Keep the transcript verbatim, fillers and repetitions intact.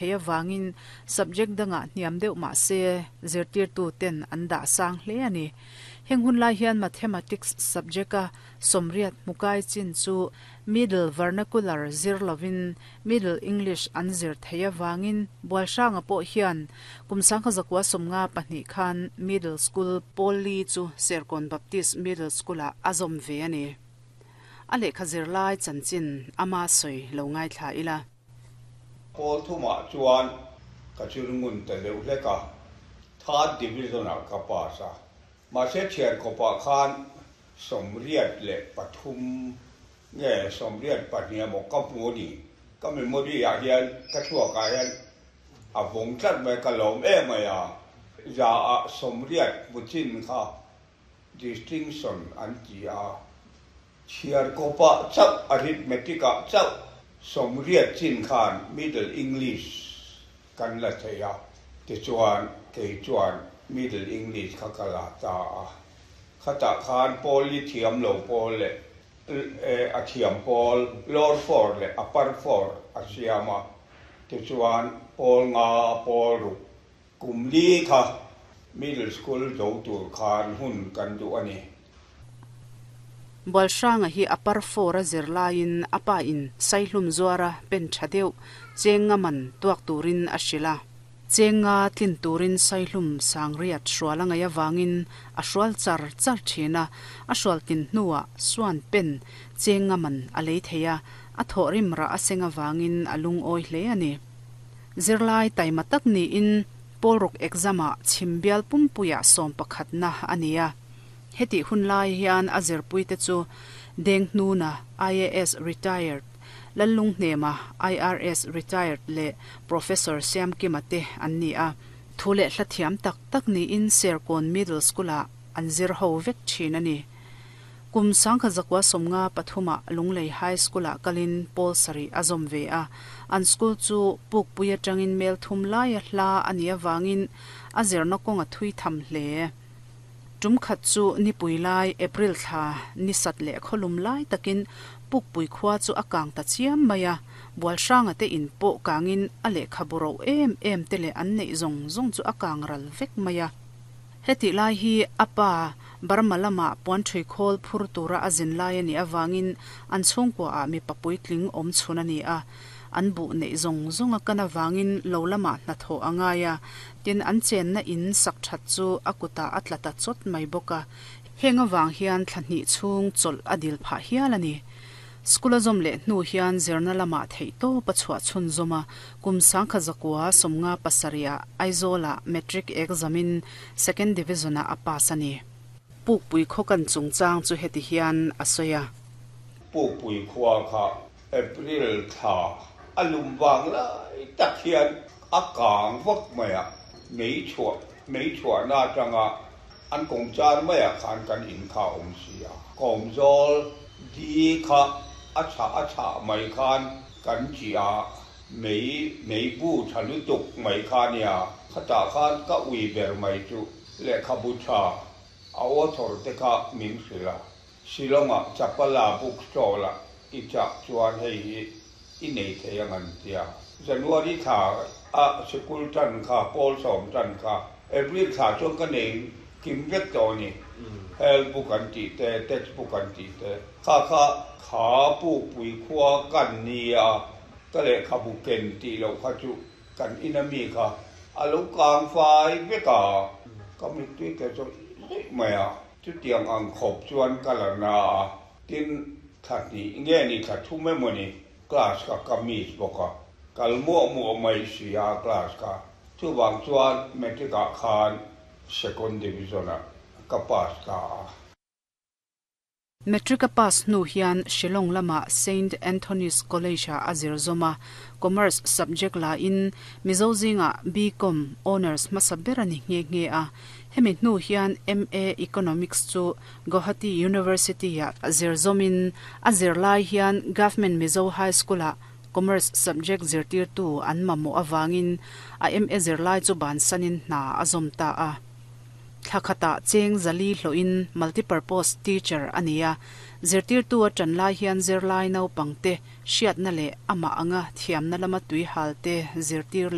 Thei awangin subject danga hniam deuh ma se zirtir tu ten an dah sang hle ani. Heng hun lai hian mathematics subject a somriat mukai chin chu middle vernacular zir lovin middle English an zir thei awangin Bualhranga pawh hian kum sangkha zakua somnga pahnih khan middle school poli chu Serkawn Baptist Middle School a azawm ve ani. A lehkha zir lai chanchin ama sawi lo ngai thla ila. Pawl thumah chuan ka chirngun ta deuh hlek a, third division ah ka pass a, mahse thian khawpah khan sawmriat leh pathum nge sawmriat pahnih emaw ka hmu a ni. Ka memory ah hian ka thluakah hian a vawng tlat mai, ka lawm em mai a, za ah sawmriat hmu chin kha distinction an ti a, chhiar kawpah chauh arithmetic ah chauh sawmriat chin khan middle English kan la thei a, tichuan kei chuan middle English kha ka la ta a, khatah khan pawl li thiam lo pawl leh a thiam pawl lower four leh upper four a siam a, tichuan pawl nga pawl ruk kum li kha middle school zo tur khan hun kan duh a ni. Bualhranga hi upper four a zir laiin a pa in saihlum zuara pen tha deuh chenga man tuak turin a hrila. Chenga tlin turin saihlum sangriat hrual angai awangin a hrual char char thina, a hrual tin hnuah suan pen chenga man a lei theia, a thawh rim ra a seng awangin a lung awi hle ani. Zirlai taima tak niin pawlruk exam ah chhimbial pumpuia sawm pakhat na ania. Heti hun lai hian a zirpui te chu Deng Hnuna I A S retired, Lallung Hnema I R S retired leh Professor Siam Kima te an ni a. Thu leh hla thiam tak tak niin Serkawn Middle School ah an zir ho vek thin ani. Kum sangkha zakua somnga pathuma Lunglei High School ah kalin pawl sarih a zawm ve a. An school chu pukpui atangin mel thum lai a hla ani awangin a zirna kawng a thui tham hle. Tum khat chu nipui lai April thla ni sat leh kholum lai takin pukpui khua chu a kang ta chiam mai a, Bualhranga te in pawh kangin a lehkha buro em em te leh an neih zawng zawng chu a kang ral vek mai a. Heti lai hi a pa Burma lama puan thui khawl phur tura a zin lai ani awangin an chhungkua ah mi papui tling awm chhun ani a. An buh neih zawng zawng a kan awangin lo lama hna thawh a ngai a, tin an chenna in sak that chu a kutah a tla ta chawt mai bawk a. Heng awang hian thla hnih chhung chawlh a dil phah hial ani. School a zawm leh hnu hian zirna lama theih tawp a chhuah chhun zawm a, kum sangkha zakua sawmnga pasarih ah Aizawl ah matric exam in second division ah a pass ani. Pukpui khaw kan chungchang chu heti hian a sawi a. Pukpui khua kha April thla a lum vang lai tak hian a kang vak mai a, mei chhuah mei chhuahna atanga an kawmchar maiah khan kan in kha a awm si a. Kawmzawl di kha a chhah a chhah mai khan kan chi a, mei mei bu tha lutuk mai kha nia, khatah khan ka ui ber mai chu lehkhabu tha a author te kha min hrilh a. Shillong-ah Chapala bookstall ah i chah chuan hei hi i nei thei ang an ti a. January thla a sikul tan kha, pawl sawm tan kha, April thla chuan ka nei kim vek tawh a ni. Health book an tih te, text book an tih te, kha kha kha pukpui khua kan ni a, ka lehkhabu ken tih loh kha chu kan ina mi kha a lo kang fai vek a, ka mittui te chu zawih mai a. Chutiang ang khawp chuan ka la na a, tin thla hnih nge ni thla thum emaw ni class kha ka miss bawk a, kal muah muah mai si a class kha. Chuvang chuan matric ah khan second division ah ka pass ta a. Matric a pass hnu hian Shillong lama Saint Anthony's College ah a zir zawm a, Commerce subject la in Mizo zingah B Com Honours hmasa ber a ni nghe nghe a. Hemi hnu hian M A Economics chu Guwahati University ah zir zawmin a zir lai hian Government Mizo High School ah Commerce subject zirtirtu an mamawh awangin a M A zirlai chu bansanin hna a zawm ta a. Thla khatah cheng zali hlawhin multipurpose teacher a ni a, Zirtirtu a ṭan lai hian zirlai naupangte hriatna leh amah anga thiamna lama tui halte zirtir